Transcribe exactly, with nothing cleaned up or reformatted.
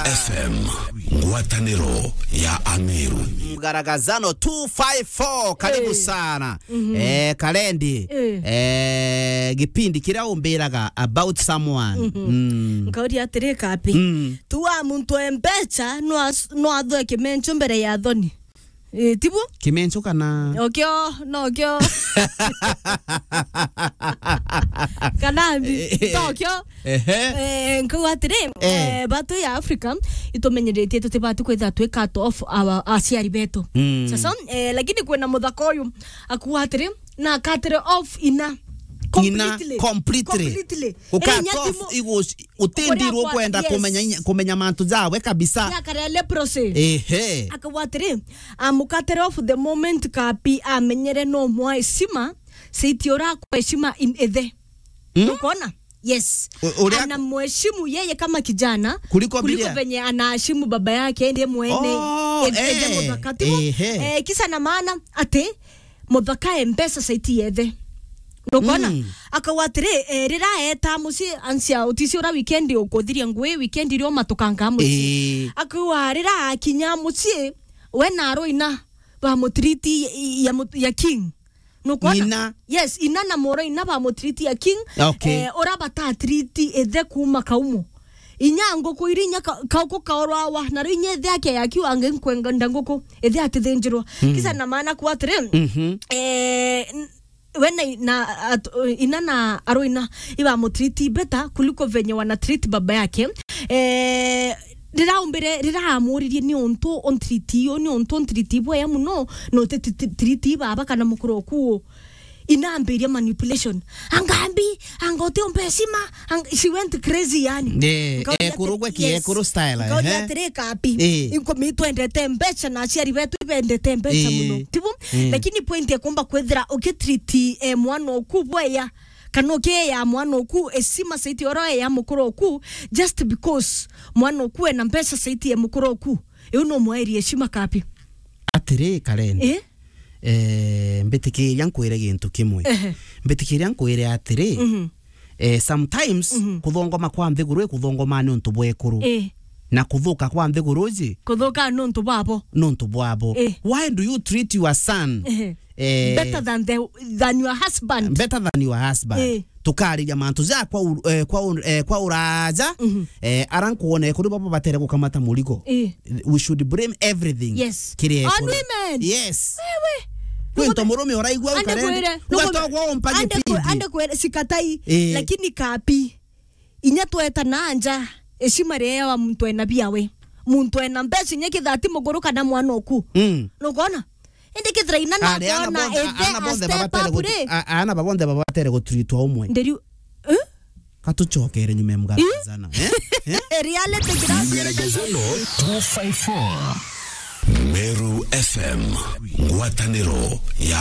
F M, ngwataniro ya Ameru. Mgaragazano two five four, karibu Eh. sana. Mhm. Eh, Kalendi. Eh. Eh, gipindi kiria umbiraga about someone. Mhm. Mm. Nkauria atiri, Kapi. Mm. Tu wa muntu e mbecha, no as-, no athoe kimencho mbere ya thoni. Eh, tibu? Kimencho kana? Okio, no kio. Kana mbi, Eh, eh, to kio. Ehe. Eh, nkauga atiri, Eh. eh, batu ya Africa, itumenyeretie tutibati kwithira twi cut off our, aciari betu. Mm. Sasa, eh, lakini kwina muthaka uyu, akuga atiri, na akatire off ina. Ina completely. Completely. Completely. Uka Eh, inya cut off timu- igus-, utindirwo Uria kwenda yes. kumenya inya-, kumenya mantu jawe kabisa. Ya kare leprosy. Ehe. Akauga atiri, amukatire off the moment Kapi amenyere no mwa heshima, saiti ura kwa heshima in ethe. Mm. Ukona? Yes. U-, uria Ana mheshimu yeye kama kijana Kuliko kuliko vile venye anaheshimu baba yake, ndiye mwene. Oh, Ende, ende eh, muthaka. Tibu? Ehe. Eh, kisa na maana ati muthaka e mbecha saiti yethe. Nukona? Mm. Akauga atiri, eh, rira eta mucii, ansia utisi ura weekend ukuthiria ngui, weekend irio matukanga mucii. Eh. Akauga rira akinya mucii, we na aroina ba mutiriti ya, ya, ya king. Nukona? Ina. Yes, ina na moro ina ba mutiriti ya king. Okay. Eh, ura batatiriti ethe kuma kaumo. Inya nguku iri inya ka-, kauku kaorwawa, na riu inya ethe ake yakiwa ange nkwenda nguku, ethe atithinjirwa. Mm. Kisa na maana kuga atiri, Mhm. eh, n-, we na i-, na at-, ina na aroina iba mutiriti better kuliko venye wana treat baba yake. Eh, rira umbire, rira amuririe ni untu untiriti yo, ni untu untiriti bwea muno, no te ti-, ti-, tiriti baba kana mukuru oku. Inambiria manipulation. Angambi, anga utiumba heshima, ang-, she went crazy yani. Eh, Nkauria ekuru atiri, gwe ki yes. ekuru style, Nkauria ehe. atiri, Kapi. Eh. Inkomi twendete mbecha na aciari betu ibendete mbecha Eh. muno. Tibu? Eh. Lakini point ya kumba kwithira ukitreat, eh, mwana oku bwea, kana ukiea mwana oku heshima saiti oro ya mukuru oku, just because mwana oku ena mbecha saiti ya mukuru oku. Iu no mwairi heshima, Kapi. Atiri, Karen. Eh? Eh, mbitikiria nkwire gintu kimwe. Ehe. Mbitikiria nkwire atiri, Mhm. eh, sometimes Mhm. kuthongoma kwa nthiguru i kuthongoma ni untu bwa ekuru. Eh. Na kuthuka kwa nthiguru iji Kuthuka ni untu bwabo. ni untu bwabo. Eh. Why do you treat your son, Ehe. eh, Better than the, than your husband. better than your husband? Eh. Tukariria mantu ja kwa u-, eh, kwa u-, eh, kwa uraja, Mhm. eh, ara nkwona ekuru babo batere gukamata murigo. Eh. We should blame everything. Yes. Kiri On ekuru. women. Yes. Wewe. Kwinto murume uraigua Ande ukarende. kwire, nuko-, Ugatogwa umpagie ande kwi-, pindi. ande kwire, sikatai. Eh. Lakini Kapi. Inya tweta na nja, heshima riria wa muntu ena biawe. Muntu ena mbeca inya kithira ti mukuru kana mwana oku. Mm. Nukona? Indi kithira ina na Ari ana kona bonthe, a-, ethe ana a bonthe step babatere up gutu-, ri. a-, ana ba bonthe babatere gutreatwa umwe. Nderiu, eh? Katuchokere nyuma ya mgana Ih? sana, eh? Eh? Reality gira Mgaragazano two five four. Meru F M, ngwataniro ya